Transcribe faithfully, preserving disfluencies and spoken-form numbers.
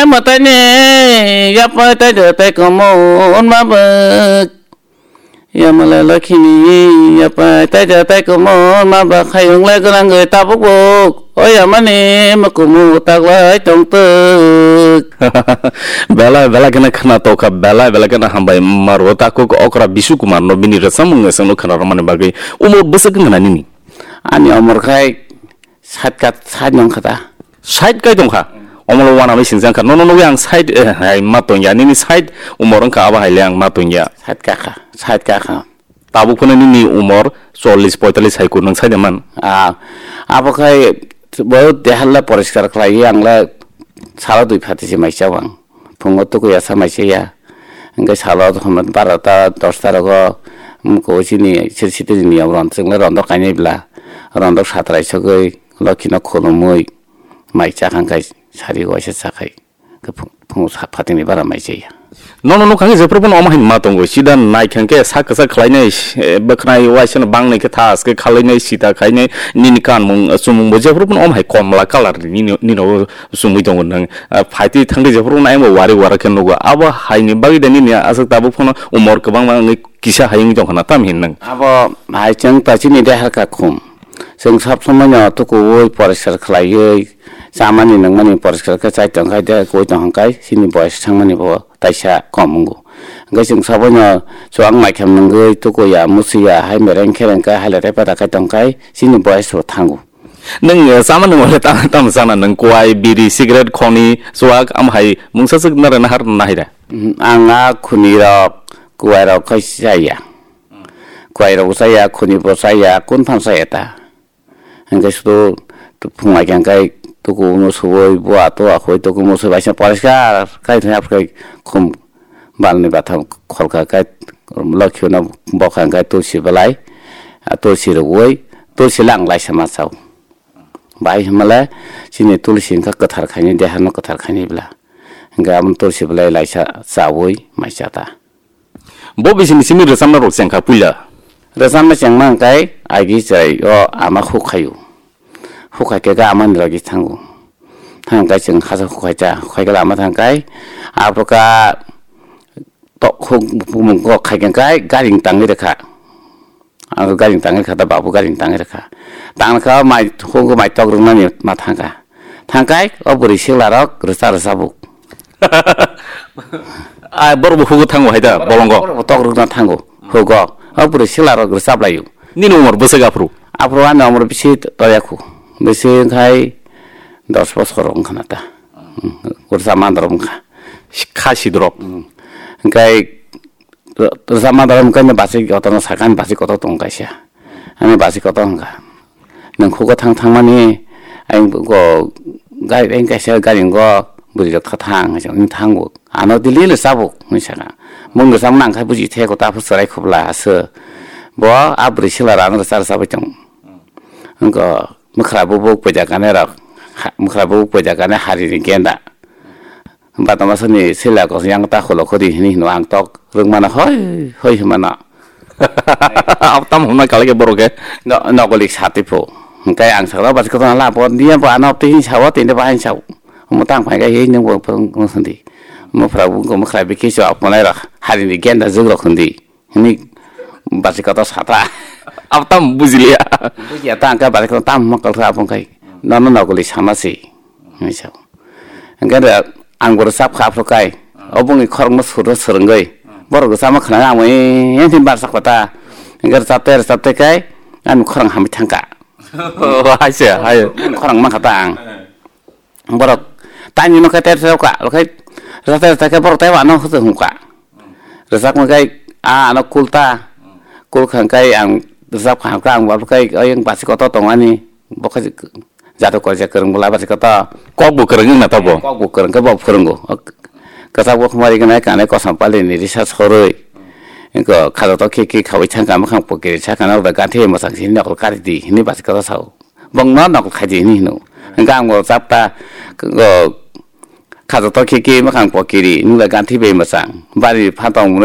Mataini yapai tai da tai komo onma bak. Yamale lakhini yapai tai da tai komo onma bak khayung lai gwnang gwi tabuk buk. O yamani mukumu taklai tongtwk. Belai belai kheno khna tokha, belai belai kheno hambai maro takuk okra Bisu Kumar no bini rwchapmung no khna rwmani bagwi umor bwswk wngkha na nini? Ani umor khai sait ka, sait nong kha ta. Sait kai tongkha. Omolo wana mai singjang kha. Nono nugwi ang sait, eh, hai ma tongya. Nini sait umor wngkha abo haile ang ma tongya. Sait ka kha, sait ka kha. Tabuk phano nini umor chollish poitallish hai kwrwng sai de man. Ah, abo khai bo dehal la poriskar khlai ang la salo dui phati se mai cha ang. Phungo tukuya samai se ya. Hingke salo hwnba barota dosta rogo, mm, ko chini sir sitini niyom ron chwngno rondok kainai bla. Rondok satrai sogwi lokhino khulumui mai chakang kai sari waisa chakhai. Ke phung, phung sa phatingni bara mai chaya. Nono nukha khe jephru phano omo hai ma tongo. Sida nai khe sak kwchak khlainai, eh, bwkhnai waisa no bangnai khe thas khe khalainai sita khainai nini kanmung, eh, chumung bo jephru phano omo hai komla colour ni nini, nini o chumui tongo nang. Ah, phaitwi thangtwi jephru nai bo wari wara khe nugo. Abo hai ni bagwi de nini aswk tabuk phano umor kwbangma wngwi kisa hai wngwi tongkha na tam hin nang. Abo hai chwng ta chini de harkha khum. Chwng sab somoi no tukuui poriskar khlaiwi chamani nangmani poriskar khe chai tongkha de koi tongkha kai chini boyes thangmani bo taisa kom wngo. Hwnkhe chwng saboino chuwak naikhem nungwi tukuya, musiya, hai mereng khereng khe hai latai pata khai tong khai chini boyes bo thango. Nwng, eh, chama nung wale tamo, tamo chana nwng kwai, biri, cigarette, khoni, chuwak, am hai mungsa swk nare nahar nahai da? Mm, ang a khuni rok, kwai rok khai chaya. Kwai rok chaya, khuni bo chaya, kun phan chaya ta. Hingke sudu phungai khe hingke tuku musuwi bua tua khoi tuku musuwi baisa poriskar khai thangya phai khum balni batham kholka khai lokhi no bokha hingke tulsi belai, ah, tulsi rwui tulsi lang laisa ma chao. Bai himale chini tulsi hingke kwthar khaini deha no kwthar khaini bla hingke amo tulsi belai laisa chaui mai cha ta. Bo bisini simi rwchapna rok chengkha puila. Rwchapna chengma hwnkhe agi chwrai o ama huk khaio. Huk khai khe ga amani logi thango. Thang khe chwng hasa huk khai cha, huk khai khe lama thang khai. Abo kha to huk bumung kok khai khe kai gari tangwi rwkha. Ang gari tangwi rwkha da babu gari tangwi rwkha. Tang kha mai huk mai tok rwngnani ma thang kha. Thang khai o bwrwi sikla rok rwcha rwcha buk. Ai, borok bo hugo thango hai da, bolongo. Borok bo tok rwkna thango, hugo. O bwrwi sikla rok rwchap laio. Nini umor bwswk aphuru? Aphuru ani umor bisi toya khu. Bisi khai dos bosor wngkha na ta. Hmm, rwchap mandrok wngkha. Kha sidrok. Hmm. Hingkhai rwchap mandrok wngkha ni basi kotor no sakha, ani basi kotor tong kaisa. Ani basi kotor wngkha. Nwng khugo thang thangmani, ayang go, gai, ayang kaisa gari go, bwrwi rok tha thang, hinwi thango. Ano dili le sabo, hinwi saka. Mung rwchapna nang kha buji the, kota phu chwrai khobla aswk. Bo a bwrwi sikla rang rwcha rwcha bai tongo. Wngkha mwkhra bubuk poida kanai rok, ha, mwkhra bubuk poida kanai hari ni genda. Batama sani sila kos yang ta kholo khodi hini hino ang tok rwngmano hoi hoi himano. Abo tamo hwnna kalaikhe borok khe? No, nogolik sati pho. Hwnkhe ang sakno basi kotorno la bo niya bo ano twi hinwi sao tini bo haino sao. Omo tang phai khe hei nwng bo phwrwng sandi. Mwphra bo wngkha mwkhra bikhe so aphunai rok harini genda jwk rok hwndi. Hwnwi bachai kotor satra. Abo tamo bujiliya. Bujiya ta hwnkhe bachai kotor tamo hwnma kalkha abo wngkhai. Nono nogoli sama se. Hwnwi sao. Hwnkhe da ang bo rwchap kha aphuru kai. O bongni khorokno suro swrwngwi. Borok rwchapma khwnangwi amo e, e, thim barsa kota. Hwnkhe rwchapte rwchapte kai ani khorang hamwi thangkha. Oh, hai se, hai. Khorang mankha ta ang. Borok tani no khe ter ter ka, okhai rata rata khe borok taibo ano hwtwi hum ka. Rwchapma khai a ano kul ta, kul kha khai ang rwchap kha, kha ang bo khai oyang basi kotor tong ani, bo khai jado koi je kwrwng bwla basi kotor. Kok bo kwrwng wng na tabuk? Kok bo kwrwng khe bo phwrwngo. Kwchak bo khumari gwnai kanai kosom pali ni risa sorwi. Wngkha khajo to khe khe khawi thang ka mwkhang pokiri sakha na da gathi mwchang sini nokol kari di hini basi kotor sao. Bongno nokol khaidi hinwi hino. Hwnkhe ang bo chapta, o, khajo to khe khe mwkhang pokiri, nukla ganthi bai mwchang. Bari phatong